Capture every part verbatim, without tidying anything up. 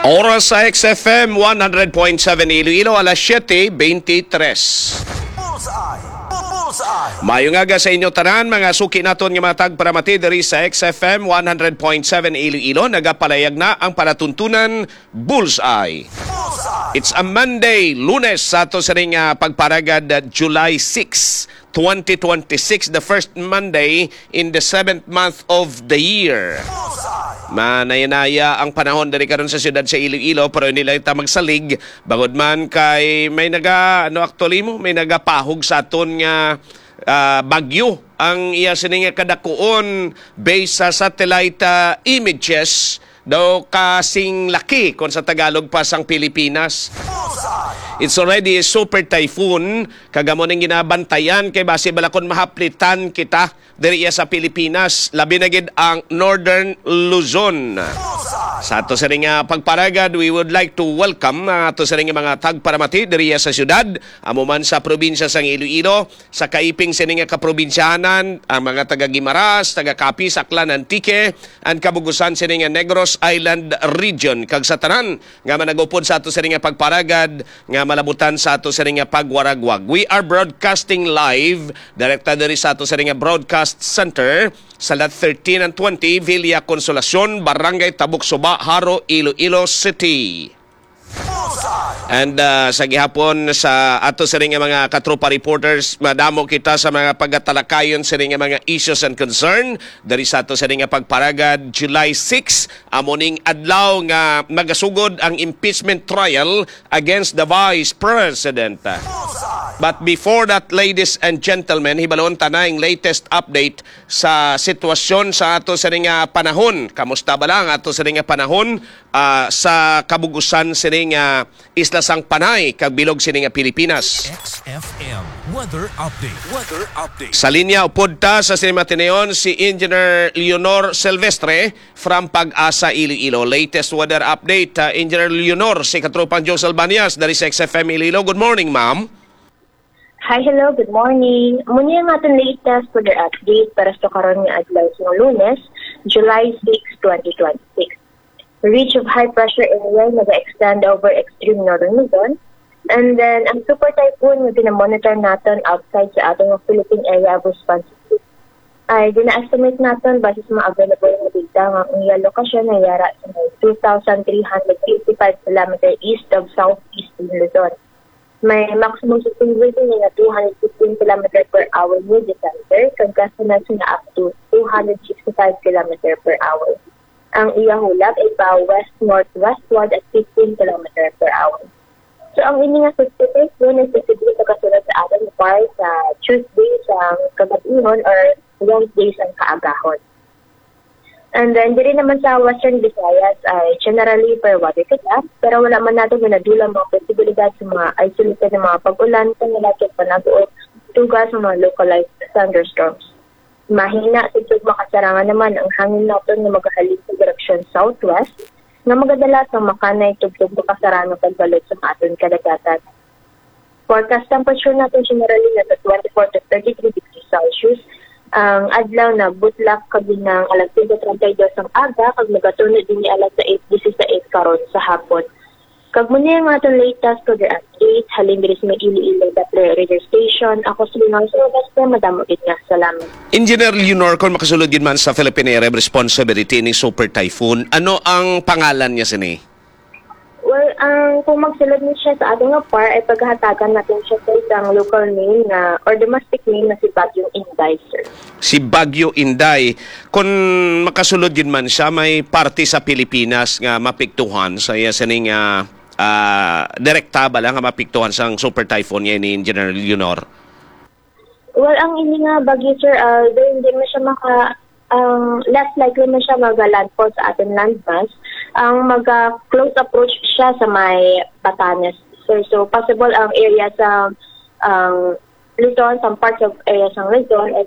Oras sa X F M one hundred point seven Iloilo, alas siyete beintitres. Bullseye! Bullseye! Maayong aga sa inyo tanan, mga suki naton nga mga tagparamati diri sa X F M one hundred point seven Iloilo. Nagapalayag na ang palatuntunan Bullseye. Bullseye! It's a Monday, Lunes, sa ato sining, ah, pagparagad, ah, July six, twenty twenty-six, the first Monday in the seventh month of the year. Manayanaya ang panahon diri karon sa siyudad sa Iloilo, pero hindi lang ta magsalig, bangod man kay may naga, ano, actually mo, may nagapahog sa aton nga, ah, bagyo. Ang iya sini nga kadakuon, based sa satellite, ah, images, daw kasing laki kon sa Tagalog pa sang Pilipinas. It's already a super typhoon, kag amo ning ginabantayan kay basi bala kon mahaplitan kita diri iya sa Pilipinas, labi na gid ang Northern Luzon. Sa ato sini nga pagparagad, we would like to welcome ang ato sini nga mga tagparamati diri iya sa siyudad, amo man sa probinsya sang Iloilo, sa kaiping sini nga kaprobinsyanan, ang mga taga Guimaras, taga Capiz, Aklan, Antique, and kabugusan sini nga Negros Island Region, kag sa tanan nga managupod sa ato sini nga pagparagad nga malabutan sa ato sini nga pagwaragwag. We are broadcasting live direkta diri sa ato sini nga broadcast center sa Lot thirteen and twenty, Villa Consolacion, Barangay Tabuk Suba, Jaro, Iloilo City. And, ah, sa gihapon sa ato sini nga mga katropa reporters, madamo kita sa mga pagatalakayon sini nga mga issues and concern diri sa ato sini nga pagparagad July six, amo ning adlaw nga magasugod ang impeachment trial against the Vice President. But before that, ladies and gentlemen, hibalon ta na ang latest update sa sitwasyon sa ato sini nga panahon. Kamusta bala ang ato sini nga panahon, ah, sa kabugusan sini nga isla sang Panay kag bilog sini nga Pilipinas? X F M weather update. Weather update. Sa linya upod ta sa sini matinuon si Engineer Leonor Silvestre from PAGASA Iloilo. Latest weather update, ah, Engineer Leonor, si Katropang Joe Salbanias dari sa X F M Iloilo. Good morning, ma'am. Hi, hello, good morning. Muna ang aton latest weather update para sa karon nga adlaw sa Lunes, July six, twenty twenty-six. Ridge of high pressure area naga-extend over extreme northern Luzon. And then, ang super typhoon nga ginamonitor naton outside sa aton nga Philippine Area of Responsibility ay gina-estimate naton base sa mga available nga data nga ang iya lokasyon ay yara sa may two thousand three hundred fifty-five kilometer east of southeastern Luzon. May maximum sustained wind nga two hundred fifteen kilometer per hour near the center, kag gusts nga up to two hundred sixty-five kilometer per hour. Ang iya hulab ay pa west-northwestward at fifteen kilometer per hour. So, ang ini nga sixty-six yun ay posible pagkasunod sa aton par sa Tuesday sa kagabihon or Wednesday sa kaagahon. And then, diri naman sa Western Visayas ay generally fair weather kita, pero wala man natin ginadula ang mga posibilidad sa mga isolated na mga pag-ulan, kanilat kag panag-uot, tuga sa mga localized thunderstorms. Mahina sa tugma kasarangan naman ang hangin naton nga magahalin sa direksyon southwest, nga magadala sa makanay tugtog makasarangan pagbalot sa aton kadagatan. Forecast temperature natin generally nasa twenty-four to thirty-three degrees Celsius. Ang adlaw na butlak kag hinang alas singko treinta y dos ang aga kag nagatuno din alas sais disisais karon sa hapon. Kag muna ang aton latest weather update halin diri sa may Iloilo Doppler Radar Station. Ako si Leonor Silvestre. Madamo gid nga salamat. Engineer Leonor, kung makasulod gid man sa Philippine Area of Responsibility ni Super Typhoon, ano ang pangalan niya sini? Well, ang kung magsulod ni siya sa ato nga par, ay paghahatagan natin siya sa isang local name na, or domestic name na si Bagyong Inday, sir. Si Bagyo Inday, kung makasulod gid man siya, may parte sa Pilipinas nga mapiktuhan sa iya sining, ah, ah, direkta bala nga mapiktuhan sang super typhoon niya ni Engineer Leonor? Well, ang ini nga bagyo, sir, ah, although hindi man siya maka, ang less likely man siya mag-landfall sa ating landmass. Ang mag-close approach siya sa may Batanes, sir. So, possible ang area sa, ang Luzon, some parts of area sa Luzon, ay,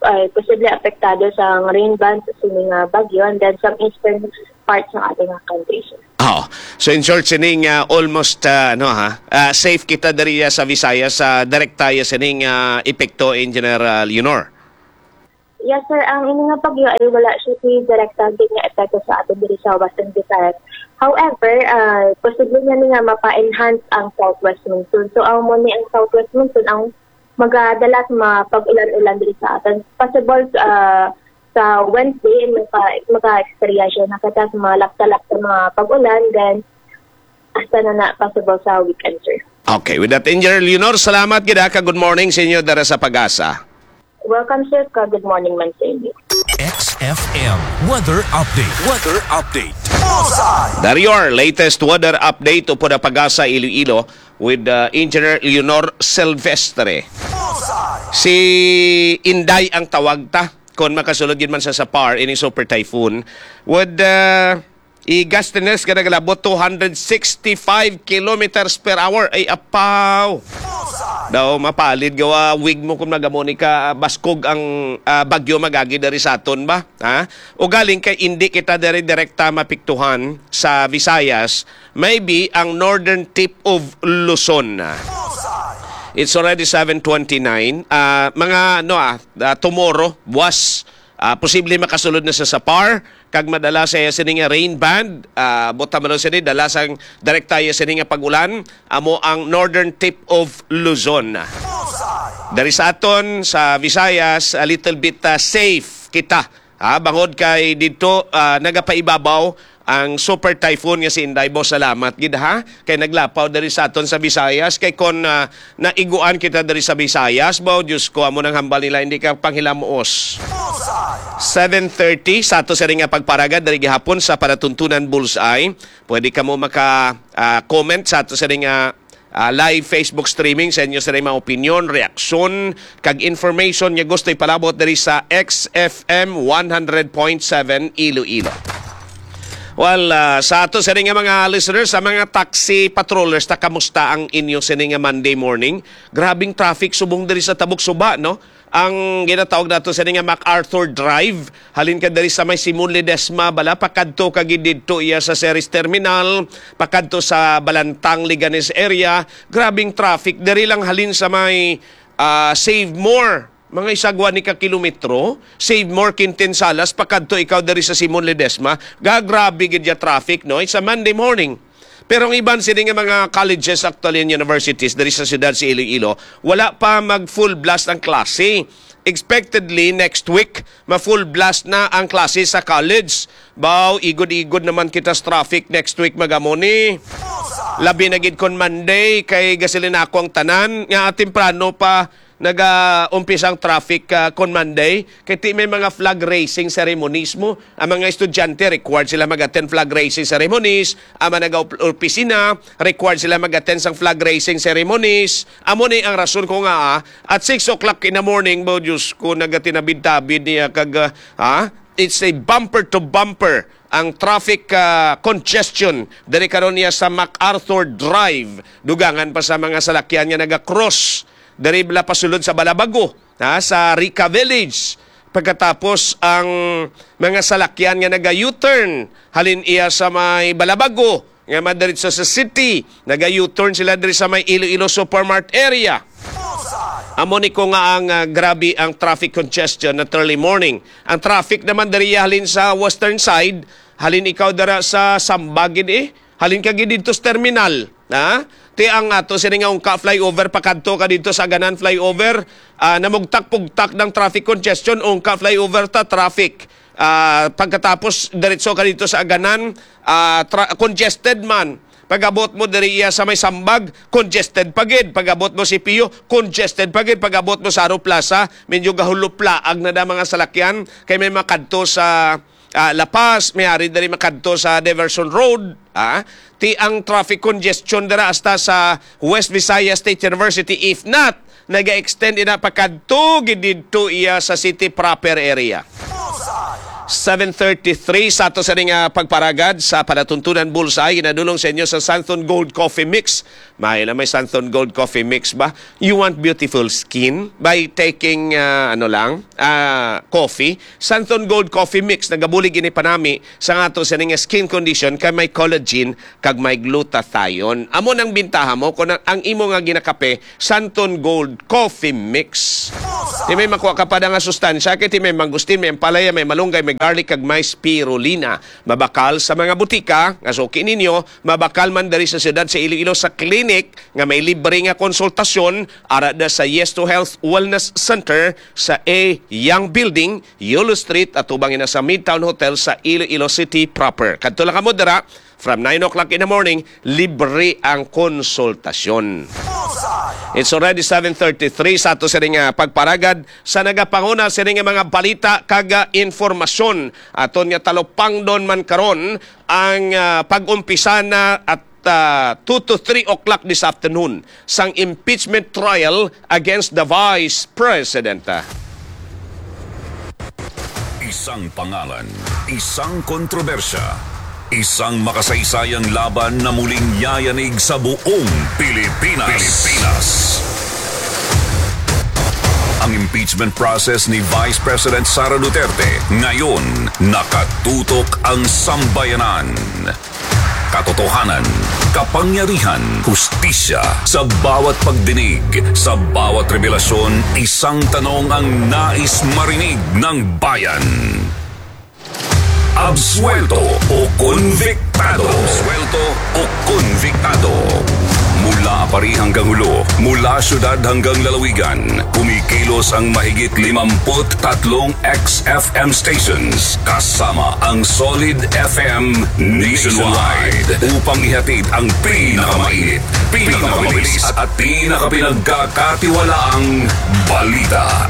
ay posible apektado sa rain bands sa sini nga bagyo, and then some eastern parts ng ating country, sir. Oh. So, in short, sining, ah, almost, ah, ano, ha, ah, safe kita diri, ah, sa Visayas, sa direkta ya sining, ah, epekto, Engineer, ah, Leonor. Yes, sir. Ang ini nga bagyo ay wala siya si direkta gid nga epekto sa atin diri sa Western Visayas. However, ah, posible nga ni nga mapa-enhance ang southwest monsoon. So, ang mo ni ang southwest monsoon ang magadala sa mga pag-ulan-ulan diri sa aton. Possible, ah, sa Wednesday, maka, maka-experience siya na kita sa mga lakta-lakta mga pag-ulan, then hasta na na possible sa weekend, sir. Okay, with that, Engineer Leonor, salamat gid ha, ka good morning sa inyo dara sa Pag-asa. Welcome, sir, ka good morning man sa inyo. X F M weather update. Weather update. Bullseye! Dari your latest weather update upod ang Pag-asa Iloilo with uh, Engineer Leonor Silvestre. Bullseye! Si Inday ang tawag ta. Kung makasulod gid man sa sa par, ini super typhoon, would uh, i-gustiness ka nagalabot two hundred sixty-five kilometers per hour. Ay, apaw! Daw mapalid gawa wig mo kung nagamo ni ka ah, baskog ang ah, bagyo magagi dari sa aton ba? Ha? O galing kay indi kita diri direkta mapiktuhan sa Visayas, maybe ang northern tip of Luzon. It's already seven twenty-nine. Ah, mga ano ah, ah, tomorrow, buwas, ah, posible makasulod na sa Sapar kag madala sa iya sini nga rain band. Ah, buta man sini dala sang direkta iya sini nga pag-ulan amo ang northern tip of Luzon. Dari sa aton sa Visayas, a little bit ah, safe kita. Ah, bangod kay didto ah, nagapaibabaw ang super typhoon nga si Inday. Boss, salamat gid ha kay naglapaw diri sa aton sa Visayas. Kay kon ah, naiguan kita diri sa Visayas, baw Diyos ko, amo nang hambal nila hindi ka panghilamuos. Seven thirty sa ato sa nga pagparagad diri gihapon sa panatuntunan Bullseye. Pwede kamo maka ah, comment sa ato sa nga ah, live Facebook streaming sa inyo sa mga opinion, reaksyon, kag information nga gusto ipalabot diri sa X F M one hundred point seven Iloilo. Well, ah, sa ato sa nga mga listeners, sa mga taxi patrollers, ta kamusta ang inyo sini nga Monday morning? Grabing traffic subong diri sa Tabok Suba, no? Ang ginatawag nato sa nga MacArthur Drive, halin ka diri sa may Simon Ledesma bala, pakadto ka gid didto iya sa Ceres Terminal, pakadto sa Balantang, Leganes area. Grabing traffic diri lang halin sa may ah, Save More. Mga isagwa ni ka kilometro, Save More, Quintin Salas, pakadto ikaw diri sa Simon Ledesma. Gagrabe gid ya traffic, no? It's a Monday morning. Pero ang iban sini nga mga colleges, actually, and universities diri sa siyudad sa Iloilo, wala pa mag full blast ang klase. Expectedly, next week, ma full blast na ang klase sa college. Baw, igod-igod naman kita sa traffic next week, magamo ni. Labi na gid kon Monday, kay gasilin ako ang tanan nga temprano pa naga-umpisa ang traffic ah, kon Monday. Kay ti may mga flag raising ceremonies mo. Ang mga estudyante required sila mag-attend flag raising ceremonies. Ang mga nag-opisina required sila mag-attend sang flag raising ceremonies. Amo ni ang rason ko nga ah, at six o'clock in the morning, bo Diyos ko, nagatinabid-tabid niya kag ah, ha? It's a bumper to bumper ang traffic ah, congestion diri karon niya sa MacArthur Drive, dugangan pa sa mga salakyan nga naga-cross diri bala pasulod sa Balabago, ha, sa Rica Village. Pagkatapos ang mga salakyan nga naga-U-turn halin iya sa may Balabago nga madiretso sa city, naga-U-turn sila diri sa may Iloilo Supermart area. Amo ni ko nga ang ah, grabe ang traffic congestion na early morning. Ang traffic naman diri halin sa western side, halin ikaw dara sa Sambag gid eh, halin ka gid didto sa terminal, ha? Ti ang ato sini nga ungka flyover pakadto ka didto sa Aganan flyover, ah, namugtak-pugtak ng traffic congestion, ungka flyover ta traffic. Ah, pagkatapos diretso ka didto sa Aganan, ah, tra- congested man. Pag-abot mo diri iya sa may Sambag, congested pa gid. Pag-abot mo C P U, congested pa gid. Pag-abot mo sa Aro Plaza, medyo gahuluplaag na da mga salakyan kay may makadto sa ah, La Paz, may ari diri makadto sa Diversion Road. Ah, ti ang traffic congestion dira hasta sa West Visayas State University. If not, naga-extend ina pakadto gid didto iya sa city proper area. Seven thirty-three sa ato sa ning ah, pagparagad sa palatuntunan Bullseye, ginadulong sa inyo sa Santon Gold Coffee Mix. May na may Santon Gold Coffee Mix ba? You want beautiful skin by taking ah, ano lang, ah, coffee? Santon Gold Coffee Mix, nagabulig ini panami sa ato sa ning skin condition kay may collagen kag may glutathione. Amo nang bintaha mo kung ang, ang imo nga ginakape Santon Gold Coffee Mix. Ti may makuha ka pa nga sustansya kay ti may mangustin, may ampalaya, may malunggay, may garlic kag may spirulina. Mabakal sa mga butika nga suki ninyo, mabakal man diri sa siyudad sa Iloilo sa clinic nga may libre nga konsultasyon, ara da sa Yes to Health Wellness Center sa A Young Building, Yulo Street, atubang ina sa Midtown Hotel sa Iloilo City proper. Kadto lang kamo dira from nine o'clock in the morning, libre ang konsultasyon. It's already seven thirty-three sa ato sini nga pagparagad sa nagapanguna sini nga mga balita kag, ah, informasyon. Aton nga talupangdon man karon ang, ah, pag-umpisa na at, ah, two to three o'clock this afternoon sang impeachment trial against the Vice President. Isang pangalan, isang kontrobersya, isang makasaysayang laban na muling yayanig sa buong Pilipinas. Pilipinas. Ang impeachment process ni Vice President Sara Duterte ngayon, nakatutok ang sambayanan. Katotohanan, kapangyarihan, hustisya, sa bawat pagdinig, sa bawat revelasyon, isang tanong ang nais marinig ng bayan. Absuelto o konbiktado? Absuelto o konbiktado? Mula pari hanggang hulo, mula syudad hanggang lalawigan, kumikilos ang mahigit limampu't tatlong X F M stations, kasama ang Solid F M nationwide, upang ihatid ang pinakamainit, pinakamabilis, at pinakapinagkakatiwalaang balita.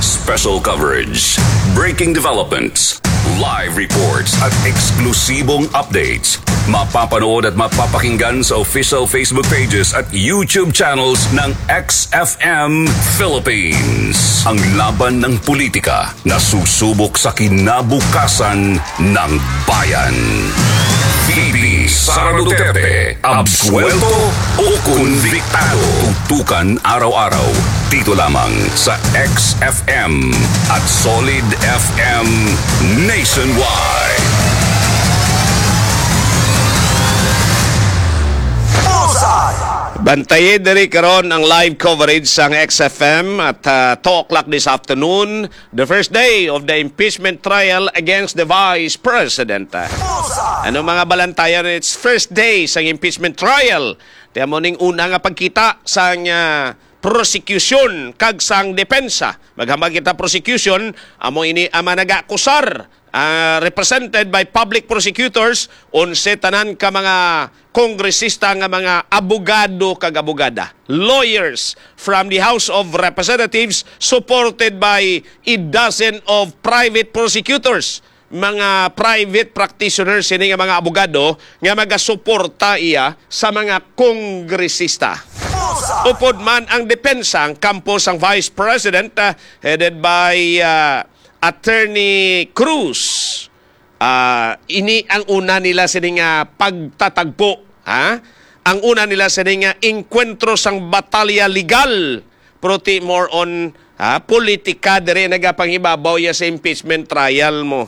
Special coverage, breaking developments, live reports, at eksklusibong updates. Mapapanood at mapapakinggan sa official Facebook pages at YouTube channels ng X F M Philippines. Ang laban ng politika na susubok sa kinabukasan ng bayan. V P Sara Duterte, absuelto o konbiktado? Tutukan araw-araw dito lamang sa X F M at Solid F M nationwide. Bullseye! Bantayi diri karon ang live coverage sang X F M at, ah, two o'clock this afternoon, the first day of the impeachment trial against the Vice President. Bullseye! Ano mga balantayan, it's first day sang impeachment trial. Kaya mo ning una nga pagkita sang, ah, prosecution kag sang depensa. Maghambal kita prosecution, amo ini ang mga nag-akusar, ah, represented by public prosecutors, onse tanan ka mga kongresista nga mga abogado kag abogada, lawyers from the House of Representatives, supported by a dozen of private prosecutors, mga private practitioners sini nga mga abogado nga magasuporta iya sa mga kongresista. Upod man ang depensa, ang kampo sang Vice President, ah, headed by, ah, Attorney Cruz. Ah, ini ang una nila sini nga pagtatagpo, ha? Ang una nila sini nga engkwentro sang batalya legal, pero ti more on, ha, politika diri nagapanghibabaw ya sa impeachment trial mo.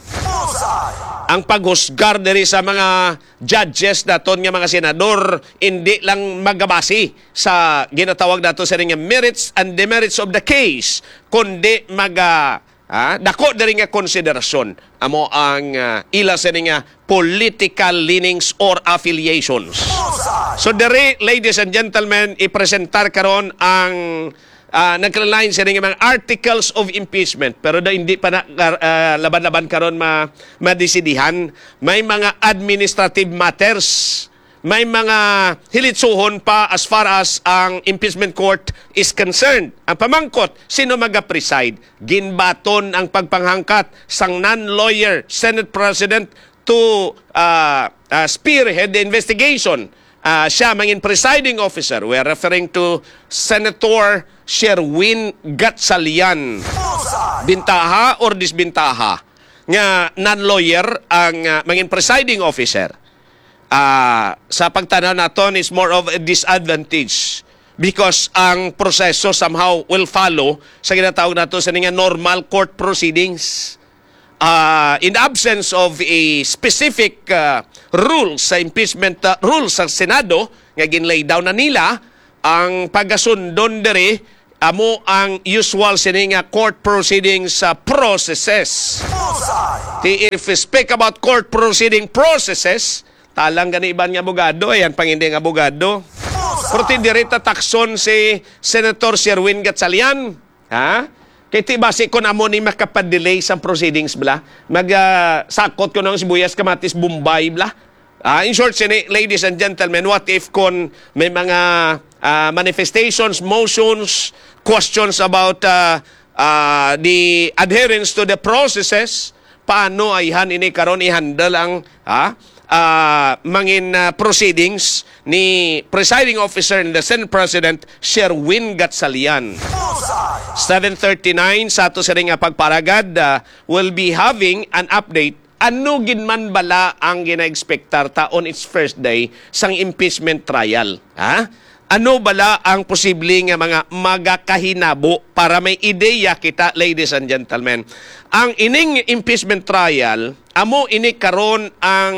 Ang paghusgar diri sa mga judges naton nga mga senador, hindi lang magabasi sa ginatawag nato sini nga merits and demerits of the case, kundi maga Ah, dako diri nga konsiderasyon amo ang, ah, ila sini nga political leanings or affiliations. So diri, ladies and gentlemen, ipresentar karon ang, ah, nagkalain sini nga mga articles of impeachment, pero da, hindi pa na, ah, laban-laban karon ma-, madesidihan. May mga administrative matters, may mga hilitsuhon pa as far as ang impeachment court is concerned. Ang pamangkot, sino maga-preside? Ginbaton ang pagpanghangkat sang non-lawyer Senate President to, ah, ah, spearhead the investigation. Ah, siya mangin presiding officer. We are referring to Senator Sherwin Gatchalian. Bintaha or disbintaha nga non-lawyer ang, ah, mangin presiding officer? Ah, sa pagtanaw naton, is more of a disadvantage because ang proseso somehow will follow sa ginatawag nato sa nga normal court proceedings. Ah, in absence of a specific, ah, rule sa impeachment, ah, rule sa Senado nga gin-lay down na nila, ang pagasundon diri amo ang usual sini nga court proceedings sa processes. Ti if we speak about court proceeding processes, talang gani iban nga abogado, ayan pang hindi nga abogado. Pero ti diri ta takson si Senator Sherwin Gatchalian, ha? Kay ti basi kun amo ni makapadelay sang proceedings bla, mag ah, sakot ko ng sibuyas, kamatis, Bombay bla. Ah, in short, sini, ladies and gentlemen, what if kon may mga ah, manifestations, motions, questions about ah, ah, the adherence to the processes? Paano ayhan ini karon i-handle ang, ha? Ah, mangin ah, proceedings ni Presiding Officer and the Senate President Sherwin Gatchalian. Seven thirty-nine sa ato sini nga pagparagad, ah, will be having an update. Ano gid man bala ang gina-expectar ta on its first day sang impeachment trial? Ha? Ano bala ang posible nga mga magakahinabo para may ideya kita, ladies and gentlemen? Ang ining impeachment trial, amo ini karon ang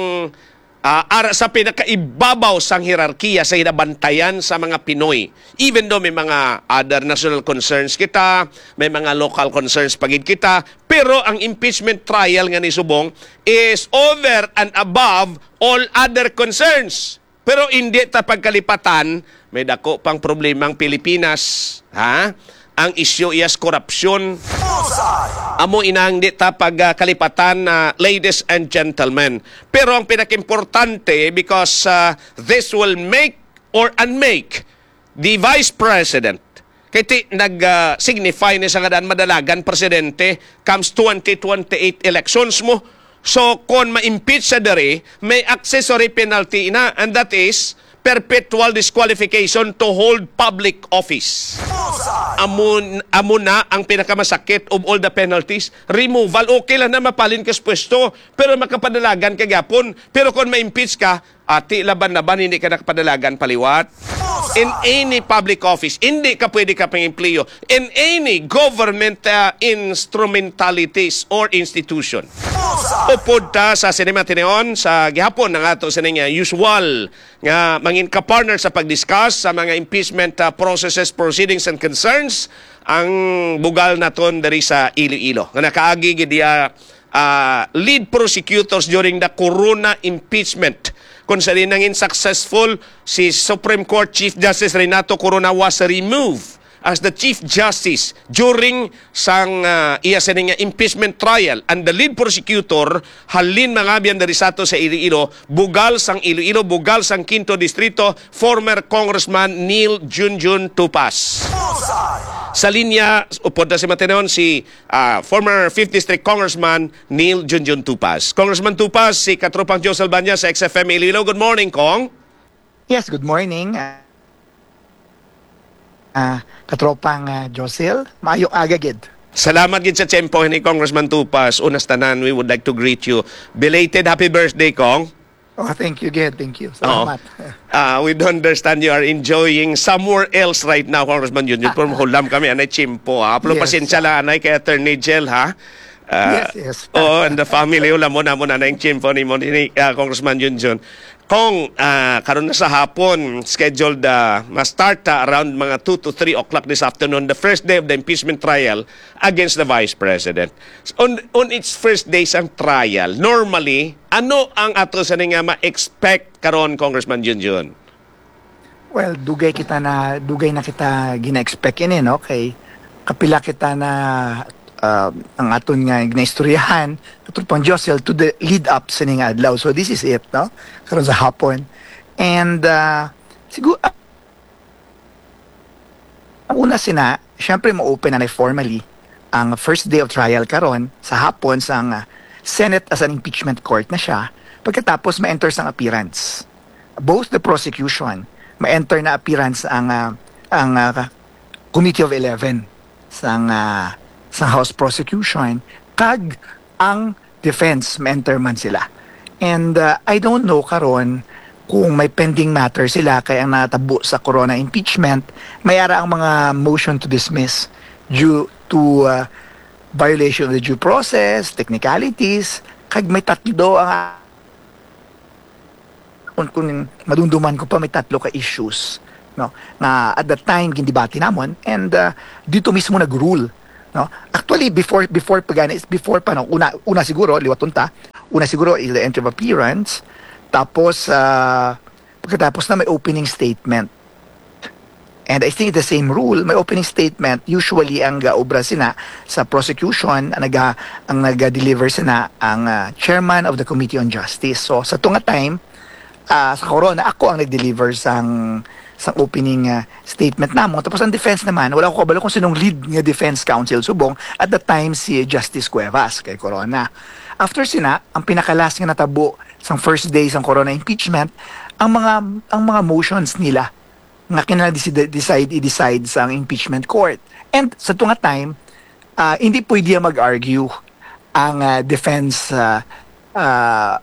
ah, ara sa pinakaibabaw sang hierarkiya sa hinabantayan sa mga Pinoy. Even though may mga other national concerns kita, may mga local concerns pa gid kita, pero ang impeachment trial nga ni subong is over and above all other concerns. Pero hindi ta pagkalipatan, may dako pang problema ang Pilipinas, ha? Ang isyu iyas korupsyon. Amo inang di ta pagkalipatan, ah, ladies and gentlemen. Pero ang pinakimportante, because ah, this will make or unmake the Vice President. Kay ti nag-signify ni sa nga daan madalagan presidente comes twenty twenty-eight elections mo. So, kon ma-impeach sa diri, may accessory penalty na, and that is perpetual disqualification to hold public office. Amo, amo na ang pinakamasakit of all the penalties. Removal, okay lang na mapalin ka sa pwesto, pero makapadalagan ka gyapon. Pero kung ma-impeach ka, ati laban-laban, hindi ka nakapadalagan paliwat. In any public office, hindi ka pwede ka pang-empleyo. In any government uh, instrumentalities or institution. Upod ta sa sinima tinuon sa gihapon ng ato sining uh, usual nga mangin ka-partner sa pag-discuss sa mga impeachment uh, processes, proceedings, and concerns, ang bugal naton diri sa Iloilo. Nga nakaagi gid iya ah, lead prosecutors during the Corona impeachment, kung sa nangin successful si Supreme Court Chief Justice Renato Corona was removed as the Chief Justice during sang ah, iya sini nga impeachment trial, and the lead prosecutor halin mangabyan diri sa ato sa Iloilo, bugal sang Iloilo, bugal sang Quinto Distrito, former Congressman Neil Junjun Tupas. Sa linya, upod na si Matenon, si ah, former fifth District Congressman Neil Junjun Tupas. Congressman Tupas, si Katropang Josel Banya sa X F M Iloilo. Good morning, Kong. Yes, good morning. Ah, ah, Katropang ah, Josel, maayong aga gid. Salamat gid sa tiyempo ni Congressman Tupas. Unas tanan, we would like to greet you. Belated happy birthday, Kong. Oh, thank you again. Thank you. Oo. Salamat. Ah, we do understand you are enjoying somewhere else right now, Congressman Junjun. Pero mahulam kami, anay tiyempo, ha? Pero Yes. pasensya lang, anay, kay Attorney Jel, ha? Ah, Yes, yes. oo, and the family, hulam mo na mo na yung tiyempo ni mo, ni, ah, Congressman Junjun. Kong, ah, karon na sa hapon, scheduled, ah, ma-start, ah, around mga two to three o'clock this afternoon, the first day of the impeachment trial against the Vice President. On, on its first day sang trial, normally, ano ang ato sa nga ma-expect karon, Congressman Junjun? Well, dugay kita na, dugay na kita gina-expect ini, no? Kay kapila kita na, ah, ang aton nga ginaistoryahan, Katropang Josel, to the lead up sa ning adlaw. So, this is it, no? Karon sa hapon. And, ah, siguro, ah, ang una sina, syempre, mo-open na formally ang first day of trial karon sa hapon sang ah, Senate as an impeachment court na siya. Pagkatapos, ma-enter sang appearance. Both the prosecution, ma-enter na appearance ang, ah, ang ah, Committee of Eleven sang, ah, sang House Prosecution, kag ang defense, ma-enter man sila. And, ah, I don't know karon kung may pending matter sila kay ang natabo sa Corona impeachment, may ara ang mga motion to dismiss due to, ah, violation of the due process, technicalities, kag may tatlo ang kung, kung madumduman ko pa, may tatlo ka issues no, nga at that time gindebate namon, and, uh, dito mismo nag-rule, no? Actually, before, before pa gani, before pa, no, una, una siguro, liwaton ta, una siguro is the entry of appearance, tapos, uh, pagkatapos na may opening statement. And I think the same rule, may opening statement, usually ang gaobra sina sa prosecution, ang naga-, ang naga-deliver sina ang, uh, chairman of the Committee on Justice. So, sa tunga time, ah, sa Corona, ako ang nag-deliver sang, sang opening, ah, statement namo. Tapos ang defense naman, wala ko kabalo kung sinong lead nga defense counsel subong at the time, si Justice Cuevas kay Corona. After sina, ang pinakalas nga natabo sang first day sang Corona impeachment, ang mga, ang mga motions nila nga kinahanglan desi-, decide, i-decide sang impeachment court. And sa tunga time, ah, hindi pwede mag-argue ang, ah, defense, ah, ah,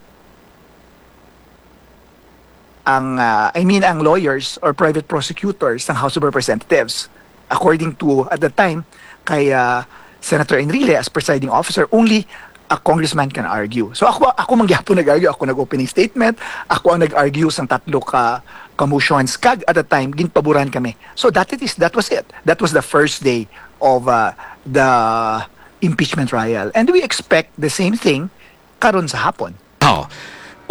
ang, ah, I mean, ang lawyers or private prosecutors ng House of Representatives. According to, at the time, kay, ah, Senator Enrile as presiding officer, only a congressman can argue. So ako, ako man gyapon nag-argue, ako nag-opening statement, ako ang nag-argue sang tatlo ka, ka motions, kag at the time ginpaboran kami. So that it is, that was it. That was the first day of, uh, the impeachment trial. And we expect the same thing karon sa hapon. Oh.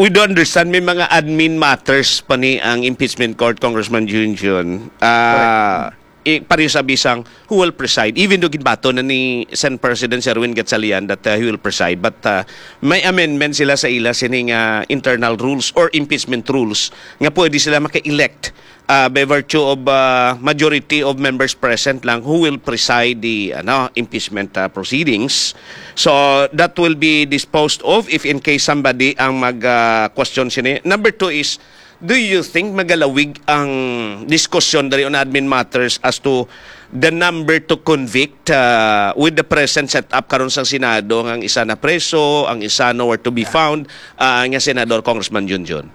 We do understand may mga admin matters pa ni ang impeachment court, Congressman Junjun. Ah, i-, pareho sa bisang who will preside, even though ginbato na ni Sen President Sherwin Gatchalian that, uh, he will preside, but, uh, may amendment sila sa ila sining, uh, internal rules or impeachment rules nga pwede sila maka-elect, uh, by virtue of, uh, majority of members present lang who will preside the, ano, impeachment, uh, proceedings. So that will be disposed of if in case somebody ang mag, uh, question sini. Number two is, do you think magalawig ang diskusyon diri on admin matters as to the number to convict, uh, with the present setup karon sang Senado, nga ang isa na preso, ang isa nowhere to be found, uh, nga senador, Congressman Junjun?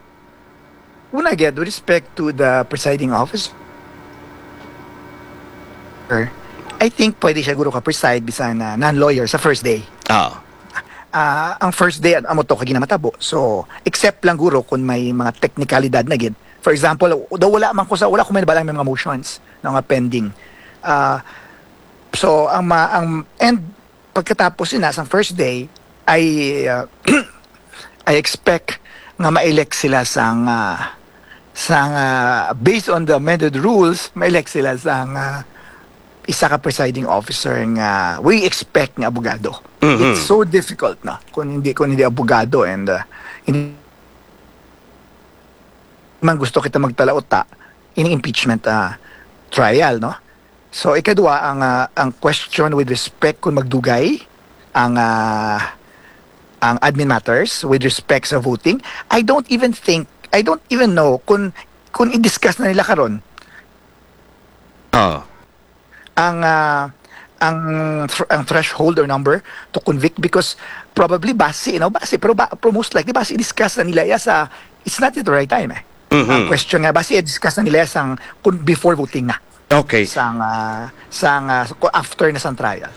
Una gid, with respect to the presiding officer, I think pwede siya guro ka-preside bisan na non-lawyer sa first day. Ah. Ah, ang first day, amo to kay ginamatabo. So, except lang guro kung may mga teknikalidad na gid. For example, daw wala man ko sa, wala ko may nabala may mga motions na nga pending. Ah, so, ang ma-, ang, and pagkatapos sina sa first day, I, ah, I expect nga ma-elect sila sang, ah, sang, ah, based on the amended rules, ma-elect sila sang, ah, isa ka presiding officer nga we expect nga abogado. Mhm. It's so difficult na kung hindi, kung hindi abogado and, uh, hindi man gusto kita magtalauta ining impeachment, uh, trial, no? So, ikadua, ang, uh, ang question with respect kung magdugay ang, uh, ang admin matters with respect sa voting, I don't even think, I don't even know kung, kung i-discuss na nila karon. Ah. Ang, ah, ang thr-, ang threshold or number to convict, because probably basi, you know, basi, pero ba, pero most likely basi i-discuss na nila ya sa, it's not yet the right time, eh. Mhm. Ang question nga, basi i-discuss na nila ya sang, kun, before voting na. Okay. Sang, ah, sang, ah, ku-, after na sang trial.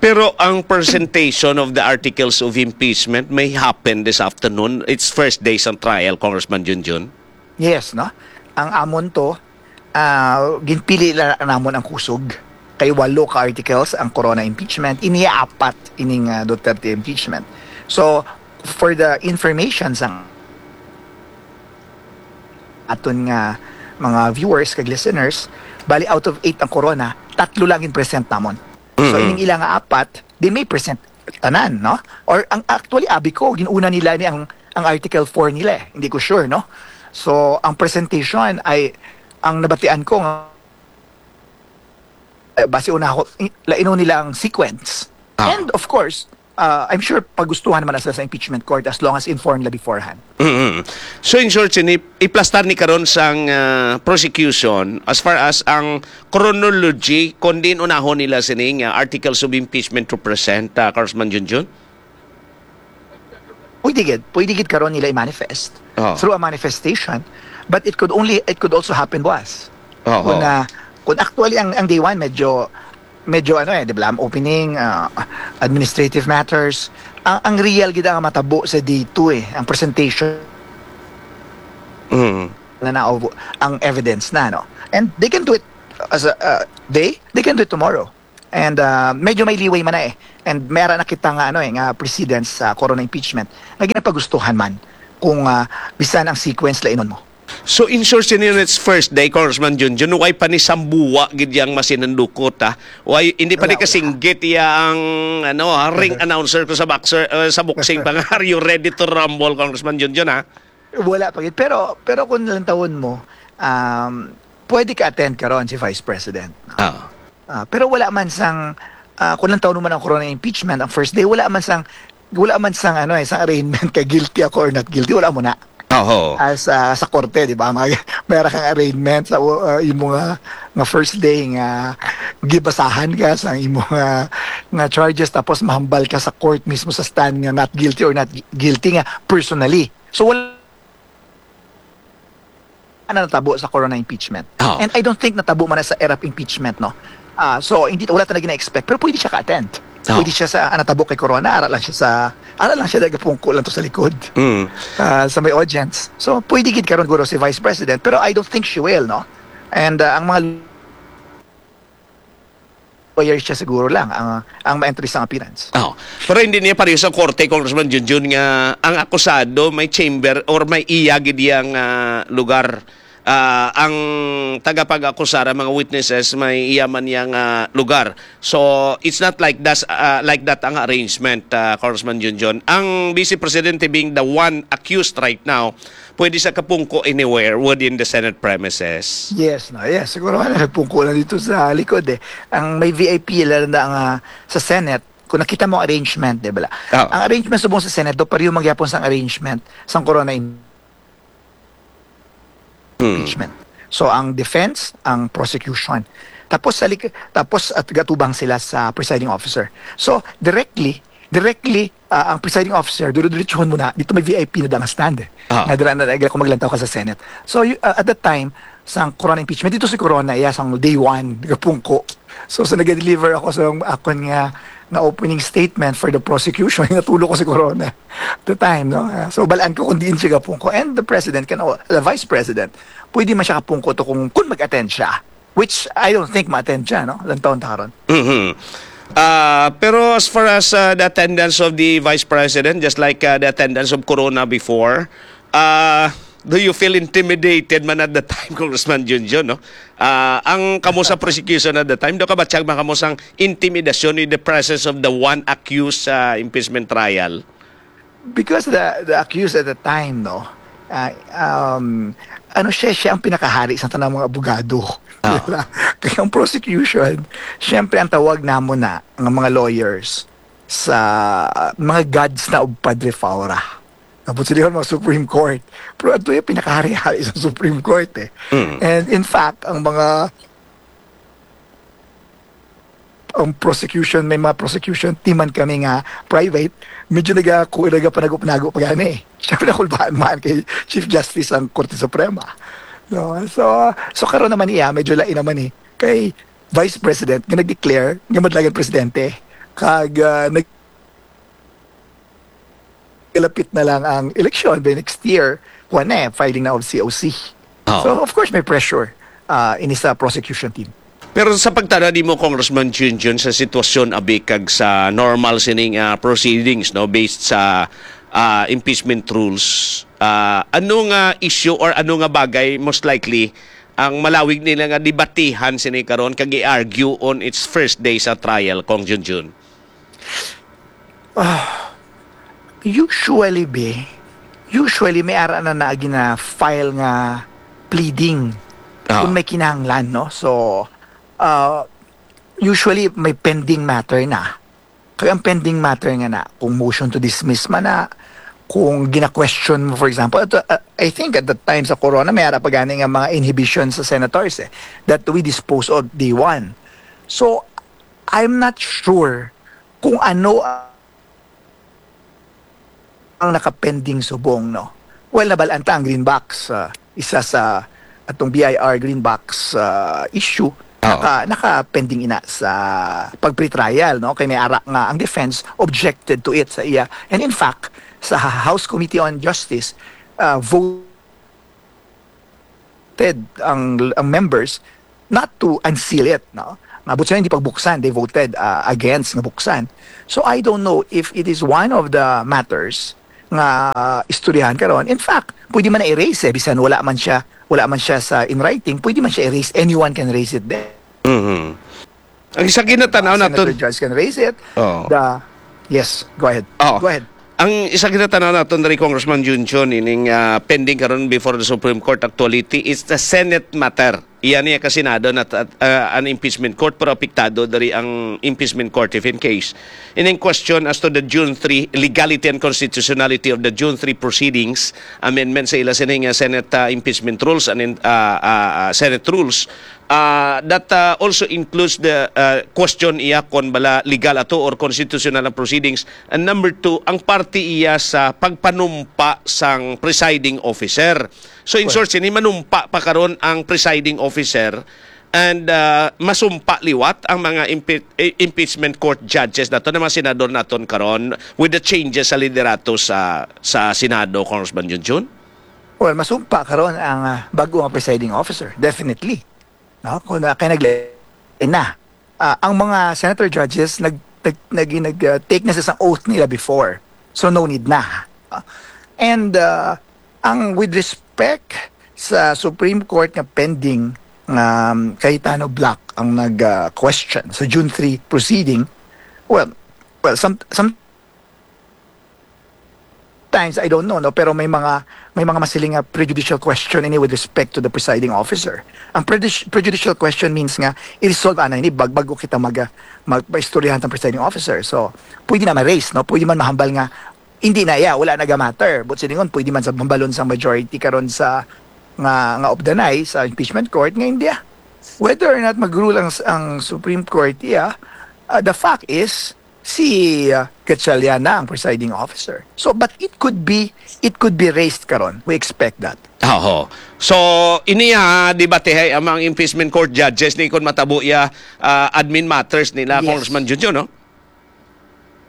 Pero ang presentation of the articles of impeachment may happen this afternoon. It's first day sang trial, Congressman Junjun. Yes, no? Ang amon to, ah, ginpili la namon ang kusog. Kay walo ka articles ang Corona impeachment, ini apat ining, ah, Duterte impeachment. So, for the information sang aton nga mga viewers kag listeners, bali, out of eight ang Corona, tatlo lang gin-present namon. So, mhm, ining ila nga apat, they may present tanan, no? Or ang, actually, abi ko, ginuna nila ni ang, ang Article four nila, eh. Hindi ko sure, no? So, ang presentation ay, ang nabatian ko nga, eh, basi una ako, i-, lainon nila ang sequence. Ah. And of course, uh, I'm sure pagustuhan naman na sila sa impeachment court as long as informed na beforehand. Mm-mm. So, in short, sini, iplastar ni karon sang, uh, prosecution as far as ang chronology kung diin unahon nila sini nga articles of impeachment to present, uh, Congressman Junjun? Pwede gid, pwede gid karon nila i-manifest, oh, through a manifestation, but it could only, it could also happen buwas. Oh, kung, oh, uh, kung actually ang, ang day one medyo, medyo ano eh, di ba, opening, uh, administrative matters, ang, ang real gid ang matabo sa day two eh, ang presentation. Mm. na na ang evidence na, no? And they can do it as a, uh, they, they can do it tomorrow. And uh, medyo may leeway man na eh. And may ara na kita nga, ano eh, nga precedents sa corona impeachment nga ginapagustuhan man kung uh, bisan ang sequence lainon mo. So, in short, since it's first day, Congressman Junjun, way pa ni sambuwa gid yang masinandukot, ha? Way, hindi pa ni Wala, wala. kasinggit iya ang, ano, ha, ring announcer ko sa boxer, uh, sa boxing pa nga, "Are you ready to rumble, Congressman Junjun?" ha? Wala pa gid. Pero, pero kung lantawon mo, um, pwede ka attend karon si Vice President, no? Ah. Ah, pero wala man sang, ah, kung lantawon mo man ang corona impeachment, ang first day, wala man sang, wala man sang, ano eh, sang arraignment ka guilty ako or not guilty, wala mo na. Oho. As, ah, sa korte, di ba? Mag-, meron kang arraignment sa, uh, imo nga, nga first day nga gibasahan ka sa imo nga, nga charges, tapos mahambal ka sa court mismo sa stand nga not guilty or not gui-, guilty nga personally. So, wala na natabo sa corona impeachment. Oh. And I don't think natabo man na sa era of impeachment, no? Ah, so, hindi, wala talaga na-expect. Pero pwede siya ka-attend. Oh. Pwede siya sa, ah, natabo kay corona, ara lang siya sa, ara lang siya, nagapungko lang to sa likod. Mm. Ah, sa may audience. So, pwede gid karon guro si Vice President, pero I don't think she will, no? And, ah, ang mga lawyer siya siguro lang ang, ang ma-entry sa appearance. Oh. Pero hindi niya pareho sa korte, Congressman Junjun, nga ang akusado may chamber or may iya gid yang, ah, lugar. Ah, ang tagapag-akusar, ang mga witnesses, may iya man yang, ah, lugar. So, it's not like das-, ah, like that ang arrangement, ah, Congressman Junjun. Ang Vice Presidente being the one accused right now, pwede sa kapungko anywhere within the Senate premises. Yes, no, yes. Siguro nga nagpungko lang dito sa likod eh. Ang may V I P lang na ang, ah, sa Senate, kung nakita mo ang arrangement, di ba? Ah. Ang arrangement subong sa Senate, do pareho magyapon sang arrangement sang corona im-, Hmm. impeachment. So, ang defense, ang prosecution. Tapos, sa lik-, tapos at gatubang sila sa presiding officer. So, directly, directly, ah, ang presiding officer, duro-diretsuhon mo na, dito may V I P na dang stand eh. Ah. Nga dira na, na, kung maglantaw ka sa Senate. So, you, ah, at that time, sang corona impeachment, dito si Corona, iya, sang day one, gapungko. So, sa nag-deliver ako sa akon nga, nga opening statement for the prosecution, natulog ko si Corona. The time, no? Ah, so, balaan ko kung diin siya gapungko. And the president can, al-, the vice president, pwede man siya kapungko to kung, kung mag-attend siya. Which I don't think ma-attend siya, no? Lantawon ta karon. Mhm. Ah, pero as far as, ah, the attendance of the vice president, just like, ah, the attendance of Corona before, ah, do you feel intimidated man at the time, Congressman Junjun, no? Ah, ang kamo sa prosecution at the time, do ka ba tiyag man kamo sang intimidasyon in the presence of the one accused sa impeachment trial? Because the, the accused at the time, no, ah, um, ano siya, siya ang pinakahari sa tanang mga abogado. Ah. Diba? Kaya ang prosecution, siyempre ang tawag namon na, ng mga lawyers, sa, ah, mga gods na of Padre Faura. Tapos sila yung mga Supreme Court. Pero ato yung pinakahari-hari sa Supreme Court eh. Mm. And in fact, ang mga ang prosecution, may mga prosecution team man kami nga private, medyo naga-, ku-, nagapanago-panago pa gani eh. Siyempre, nakulbaan man kay Chief Justice ang Korte Suprema. No? So, so karon naman iya, medyo lain naman eh. Kay Vice President, nga nag-declare, nga madlagan presidente. Kag, ah, nag-, lapit na lang ang eleksyon by next year, kuwan na eh, filing na of C O C. Oh. So, of course, may pressure, ah, ini sa prosecution team. Pero sa pagtana nimo, Congressman Junjun, sa sitwasyon abi kag sa normal sining, ah, proceedings, no, based sa, ah, impeachment rules, ah, ano nga issue or ano nga bagay most likely ang malawig nila nga debatihan sini karon kag i-argue on its first day sa trial, Cong Junjun? Ah, usually, be, usually may ara na na gina-file nga pleading Ah. kung may kinahanglan, no? So, ah, usually may pending matter na. Kaya ang pending matter nga na, kung motion to dismiss man na, kung gina-question mo, for example, at, uh, I think at that time sa corona, may ara pa gani nga mga inhibition sa senators eh, that we dispose of day one. So, I'm not sure kung ano ang nakapending subong, no? Well, nabalaan ta ang Greenbox, ah, isa sa atong B I R Greenbox, ah, issue, Oo. naka, nakapending ina sa pag-pretrial, no? Kay may ara nga ang defense objected to it sa iya. And in fact, sa House Committee on Justice, ah, vote voted ang, ang members not to unseal it, no? Nga, buot silingon, hindi pagbuksan, they voted, uh, against nga buksan. So, I don't know if it is one of the matters nga istoryahan karon. In fact, pwede man na erase, eh, bisan wala man siya, wala man siya sa in writing, pwede man siya erase. Anyone can raise it there. Mhm. Ang isa ginatanaw naton, Senator Judge can raise it. Oh. The, yes, go ahead. Oh. Go ahead. Ang isa ginatanaw naton diri, Congressman Junjun, ining, ah, pending karon before the Supreme Court actuality is the Senate matter. Iya niya ka Senado na, ah, an impeachment court, pero apektado diri ang impeachment court if in case. Ining question as to the June three legality and constitutionality of the June three proceedings, amendment sa ila sining, ah, Senate, ah, impeachment rules and in, ah, ah, ah, Senate rules, ah, that, ah, also includes the, ah, question iya kon bala legal ato or constitutional ang proceedings. And number two, ang parte iya sa pagpanumpa sang presiding officer. So, in short, sini manumpa pa karon ang presiding officer and, ah, masumpa liwat ang mga impe-, eh, impeachment court judges nato, na mga senador naton karon with the changes sa liderato sa, sa Senado, Congressman Junjun? Well, masumpa karon ang, ah, bago nga presiding officer, definitely. No? Kung na, kay naglain na. Ah, ang mga senator judges nag nag nag, nag, ah, take na sa isang oath nila before. So no need na. Ah, and, ah, ang with respect sa Supreme Court nga pending, um, Cayetano Black ang nag, ah, question sa June three proceeding, well, well, some, some times, I don't know, no, pero may mga, may mga masiling nga prejudicial question ini with respect to the presiding officer. Ang prejudicial question means nga i-resolve ana ini bag-, bago kita mag, magpaistoryahan sa presiding officer. So, pwede na ma-raise, no? Pwede man mahambal nga hindi na iya, wala na ga-matter. Buot silingon, pwede man sa hambalon sa majority karon sa nga, nga of the night sa impeachment court nga hindi, ah. Whether or not mag-rule ang, ang Supreme Court, yeah, uh, the fact is, si, uh, Gatchalian na ang presiding officer. So, but it could be, it could be raised karon. We expect that. Oho. So, ini, ah, debatehay ang mga impeachment court judges ni kon matabo iya, ah, admin matters nila, Yes. Congressman Junjun, no?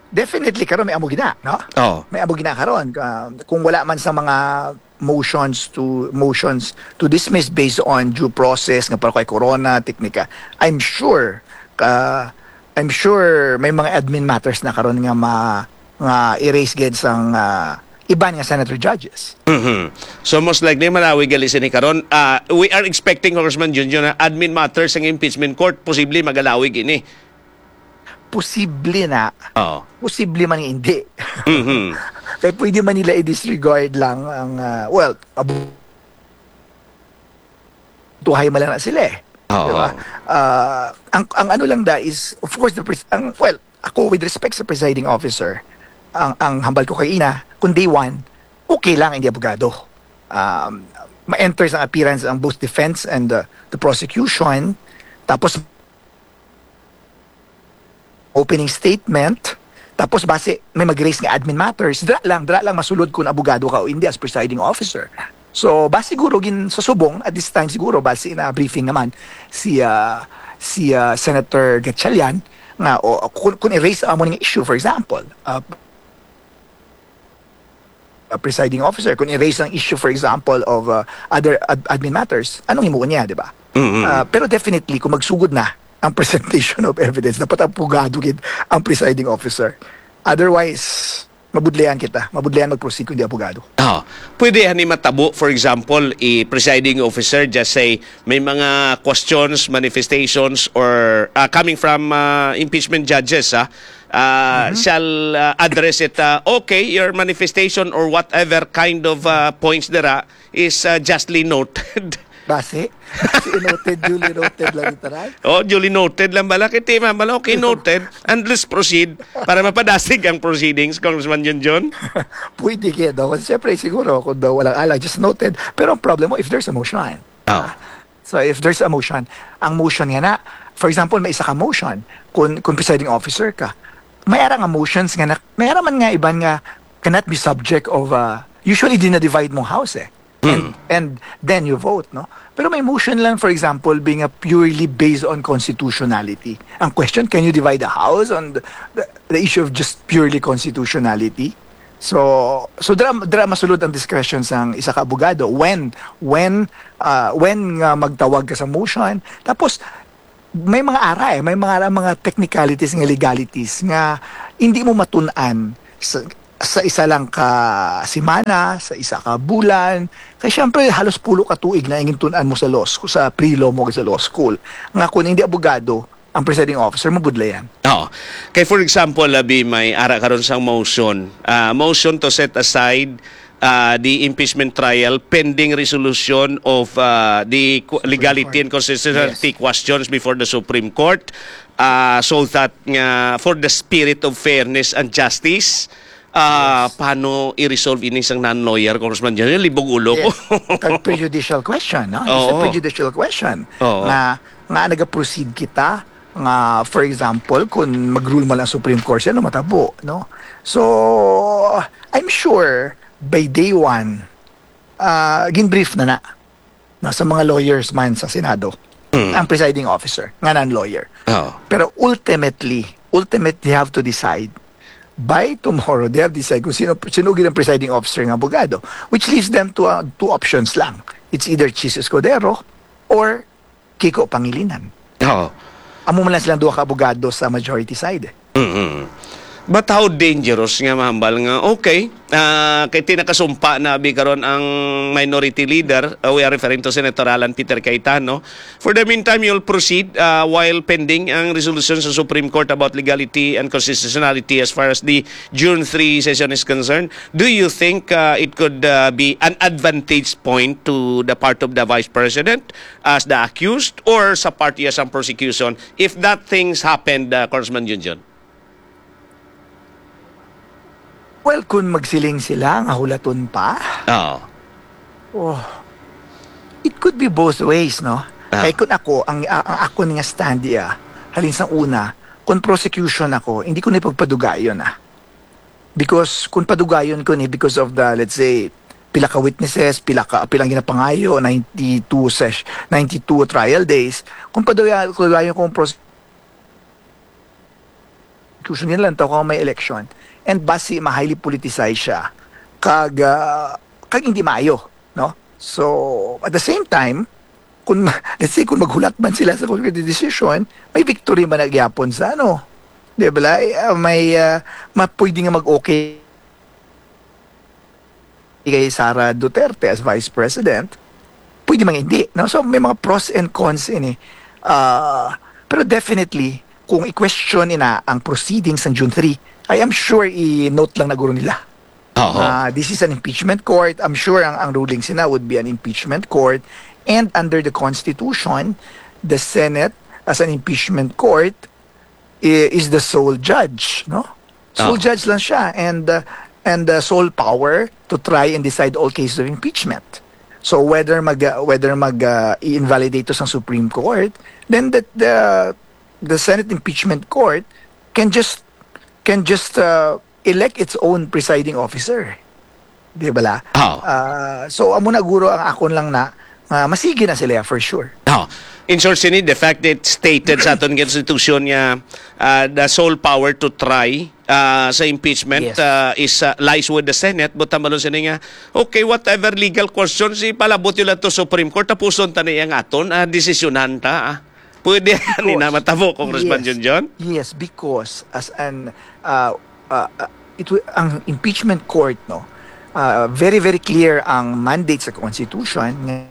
Definitely karon may amo gina, no? Oh. May amo gina karon. Ah, kung wala man sa mga motions to, motions to dismiss based on due process nga para kay corona, teknika, I'm sure, ah, I'm sure may mga admin matters na karon nga ma-, nga i-raise gid sang, ah, iban nga senator judges. Mhm. So, most likely malawig gali sini karon. Ah, we are expecting, Congressman Junjun, na admin matters sang impeachment court, posible magalawig ini. Posible na. Oo. Posible man nga hindi. Mhm. Kaya pwede man nila i-disregard lang ang, ah, well, abu-, tuhay man lang na sila, eh. Oo. Diba? Ah, ang, ang ano lang da is, of course, the pres-, ang, well, ako, with respect sa presiding officer, ang, ang hambal ko kay ina, kung day one, okay lang, hindi abogado. Um, ma-enter sa appearance ang both defense and, uh, the prosecution. Tapos, opening statement, tapos basi may mag-raise nga admin matters, dira lang, dira lang masulod kung abogado ka o hindi as presiding officer. So, basi siguro gin sa subong, at this time siguro, basi na briefing naman si, ah, si, ah, Senator Gatchalian nga, o, kung, kung i-raise ang amo ning issue, for example, ah, uh, presiding officer, kung i-raise ang issue, for example, of, uh, other ad-, admin matters, anong himuon niya, di ba? Mm-mm. Uh, pero definitely, kung magsugod na ang presentation of evidence, dapat abogado gid ang presiding officer. Otherwise, mabudlayan kita. Mabudlayan mag-proceed kung di abogado. Ah, pwede ani matabo, for example, i presiding officer just say may mga questions, manifestations, or, ah, coming from, ah, impeachment judges, ah, ah, shall, ah, address it, ah, okay, your manifestation or whatever kind of, ah, points dira is, ah, justly noted. Basi? Si noted, duly noted lang ito, right? Oh, duly noted lang bala. Kay ti man bala, okay, noted. And let's proceed para mapadasig ang proceedings, Congressman Junjun. Pwede kaya daw. Kasi siyempre, siguro, kung daw walang alang, just noted. Pero ang problem mo, if there's a motion. Oh. So, if there's a motion, ang motion nga na, for example, may isa ka motion, kung, kung presiding officer ka, may ara nga motions nga na, may ara man nga iban nga cannot be subject of, uh, usually, di na-divide mong house, eh. And, and then you vote, no? Pero may motion lang, for example, being a purely based on constitutionality. Ang question, can you divide the house on the, the, the issue of just purely constitutionality? So, so dira, dira masulod ang discretion sang isa ka abogado. When, when, ah, when nga magtawag ka sa motion, tapos may mga ara eh, may mga ara, mga technicalities nga legalities nga hindi mo matun-an sa, sa isa lang ka semana, sa isa ka bulan. Kay syempre, halos pulo ka tuig na ang tun-an mo sa law school, sa pre-law mo sa law school. Nga kung hindi abogado ang presiding officer, mabudlayan. Oo. Kay for example, labi may ara karon sang motion. Ah, motion to set aside ah, the impeachment trial pending resolution of ah, the qu- legality and constitutionality Yes. questions before the Supreme Court, ah, so that nga for the spirit of fairness and justice, ah, paano i-resolve ini sang non-lawyer, Congressman John? Libog ulo ko. Yes. Kag prejudicial question, no? It's a Oo. prejudicial question. Oo. Nga, nga nag-proceed kita, nga, for example, kung mag-rule man ang Supreme Court, ano matabo, no? So, I'm sure, by day one, ah, gin-brief na na, no, sa mga lawyers man sa Senado, ang presiding officer, nga non-lawyer. Oo. Pero ultimately, ultimately, they have to decide. By tomorrow, they have to decide kung sino, sino gid ang presiding officer nga abogado, which leaves them to uh, two options lang. It's either Chiz Escudero or Kiko Pangilinan. Oo. Amo man lang silang duha ka abogado sa majority side. Eh. Mm-mm. But how dangerous nga mahambal nga, okay, ah, kay tinakasumpa na bi karon ang minority leader, uh, we are referring to Senator Alan Peter Cayetano. For the meantime, you'll proceed uh, while pending ang resolution sa Supreme Court about legality and constitutionality as far as the June three session is concerned. Do you think uh, it could uh, be an advantage point to the part of the Vice President as the accused or sa part iya sang prosecution if that things happened, uh, Congressman Junjun? Well, kung magsiling sila nga hulaton pa, Oo. oh, it could be both ways, no? Ah. Kay kung ako, ang, ang, ang ako nga stand iya, halin sa una, kung prosecution ako, hindi ko na pagpadugayon ah. Because kung padugayon ko ni because of the, let's say, pila ka witnesses, pila ka, pilang ginapangayo, ninety-two sesh, ninety-two trial days, kung padugayon, padugayon ko ang prosecution, yun lang tawag may election. And basi, ma-highly politicized siya. Kag, ah, kag hindi maayo, no? So, at the same time, kung, let's say, kung maghulat man sila sa concrete decision, may victory man na gyapon sa, ano, di ba? Ay, ah, may, ah, ma-, pwede nga mag-okay kay Sara Duterte as Vice President. Pwede man hindi, no? So, may mga pros and cons ini. Ah, pero definitely, kung i-question ina ang proceedings ng June three, I am sure i-note lang na guro nila. Oo. Ah, this is an impeachment court. I'm sure ang, ang ruling sina would be an impeachment court. And under the Constitution, the Senate as an impeachment court i- is the sole judge, no? Sole Oo. judge lang siya and uh, and the sole power to try and decide all cases of impeachment. So whether mag uh, whether mag uh, i-invalidate to sa Supreme Court, then the the, the Senate impeachment court can just can just uh, elect its own presiding officer. Di ba la? Oo. Ah, so amo na guro ang akon lang na nga masigi na sila for sure. Oh, in short, sini, the fact that stated sa aton constitution nga uh, the sole power to try uh, sa impeachment Yes. uh, is uh, lies with the Senate, but tambalon sini nga, okay, whatever legal questions, ipalabot nila to Supreme Court, tapuson ta na iyang aton, uh, desisyonan ta. Ah. Pwede ni na matabo, Congressman Yes. Junjun? Yes, because as an uh, uh, uh, it will, ang impeachment court, no, uh, very very clear ang mandate sa constitution nga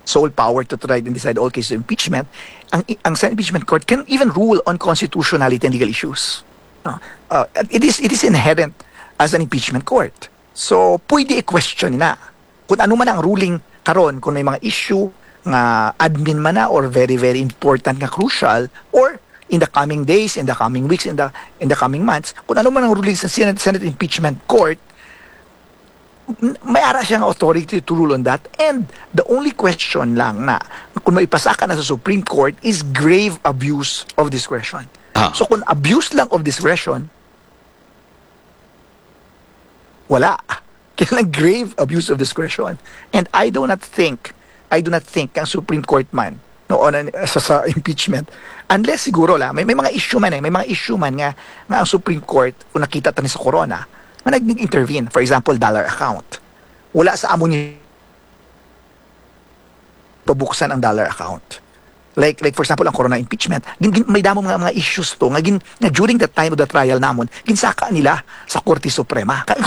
sole power to try and decide all cases of impeachment. Ang ang Senate impeachment court can even rule on constitutionality and legal issues. No? Uh, it is it is inherent as an impeachment court. So pwede i-question na kung ano man ang ruling karon, kung may mga issue nga admin man na or very very important nga crucial, or in the coming days, in the coming weeks, in the in the coming months, kung ano man ang ruling sa Senate, Senate Impeachment Court, n- may ara siyang authority to rule on that. And the only question lang na kung maipasaka na sa Supreme Court is grave abuse of discretion. Ah. So kung abuse lang of discretion, wala. Kailangan grave abuse of discretion. And I do not think, I do not think ang Supreme Court man noon sa, sa impeachment. Unless siguro la, may, may mga issue man eh, may mga issue man nga, nga ang Supreme Court, kung nakita ta ni sa Corona, nga nag-intervene, for example, dollar account. Wala sa amo ni pabuksan ang dollar account. Like, like for example, ang Corona impeachment, gin, gin, may damo mga, mga issues to nga, gin, nga during the time of the trial namon, ginsaka nila sa Korte Suprema. Ka-